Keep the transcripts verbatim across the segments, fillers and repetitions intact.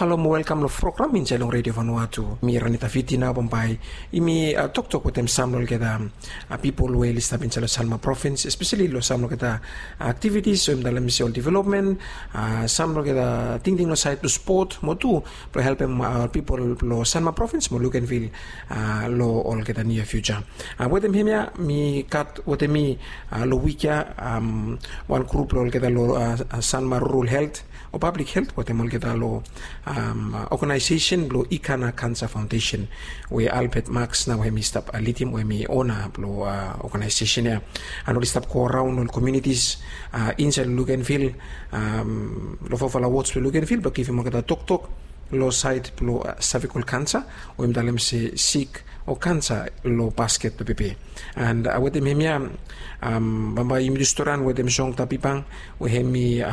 Halo mo welkam long program insait long redio vanua tu mi ranita fiti nao bambae. Yumi toktok wetem sam long olgeta pipol we oli stap insait long sanma provins, espeseli long sam long olgeta aktivitis we mi talem se ol developmen, sam long olgeta tingting long sait blong spot mo tu blong helpem pipol blong sanma provins mo lukenvil long olgeta nia fiuja. Wetem hem ya mi gat wetem mi long wik ya wan grup long olgeta long sanma rural helt o pablik helt wetem olgeta long ogenaesesen blong ikana kansa faondesen, we albert maks nao hem i stap lidim we hem i ona blong ogenaesesen ya. An oli stap go raon ol komiunitis insait long lukenvil, long fofala wods blong lukenvil blong givim olgeta toktok long sait blong savikol kansa we mi talem se sik o kansa long basket blong pepe. An wetem hem ya bambae yumi tu storan wetem song tabibang we hem i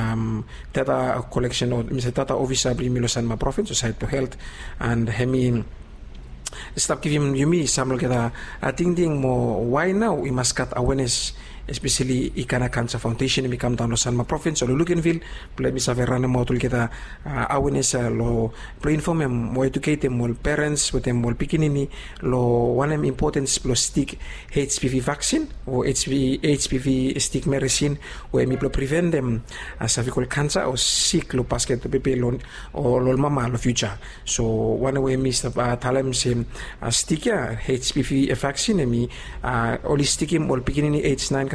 data koleksen o mi se data ofisa blong yumi long sanma provins o sait blong helt. An hem i stap givim yumi sam long olgeta tingting mo wae nao i mas gat awenes, espeseli ikana kansa faondesen hem i kamdaon long sanma provins o long lukenvil blong hem i save ranemaot olgeta awenes long blong infomem mo ejuketem ol perens wetem ol pikinini long wanem impotens blong stik hpv vaksin o hpv stik meresin we hem i blong priventem savikol kansa o sik long basket blong pepe long ol mama long fiuja. So wanem we mi stap talem se stik ya hpv vaksin hem i oli stikim ol pikinini ej naen